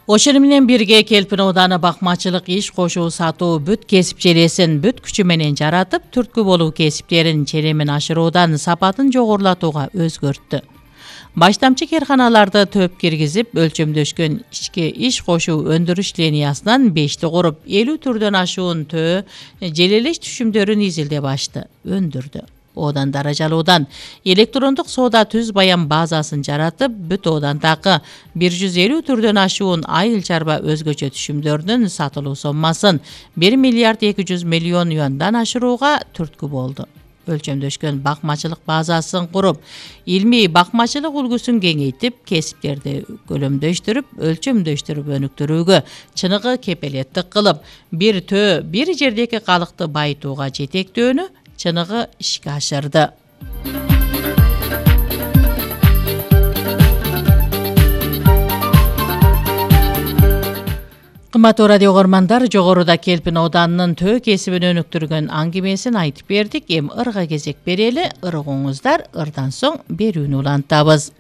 Ошону менен бирге Келпин ооданы бакмачылык иш кошуу сатуу бүт кесип желесин бүт күчү менен жаратып, түрткү болуу кесиптерин ченемин ашыруудан сапатын жогорулатууга өзгөрттү. Баштамчы керканаларды төп киргизип, өлчөмдөшкөн ички иш кошуу өндүрүш линиясынан 5ти куруп, 50 түрдөн ашуун төө желелеш түшүмдөрүн изилдеп ашты, өндүрдү. Одан даражалуудан электрондук соода түз баян базасын жаратып, бүт оодандагы 150 түрдөн ашуун айыл чарба өзгөчө түшүмдөрдүн сатылуу соммасын 1 миллиард 200 миллион юандан ашырууга түрткү болду. Өлчөмдөшкөн бакмачылык базасын куруп, илмий бакмачылык үлгүсүн кеңейтип, кесиптерди көлөмдөштүрүп, өлчөмдөштүрүп өнүктүрүүгө чыныгы кепелеттик кылып, бир төө бир жердеги калыкты байытууга жетектөөнү чыныгы ишке ашырды. Кымбаттуу радио көрмандар, жогоруда Келпин ооданынын төө кесибин өнүктүргөн аңгемесин айтып бердик. Эми ырга кезек берели. Ыргыңыздар, ырдан соң берүүнү улантабыз.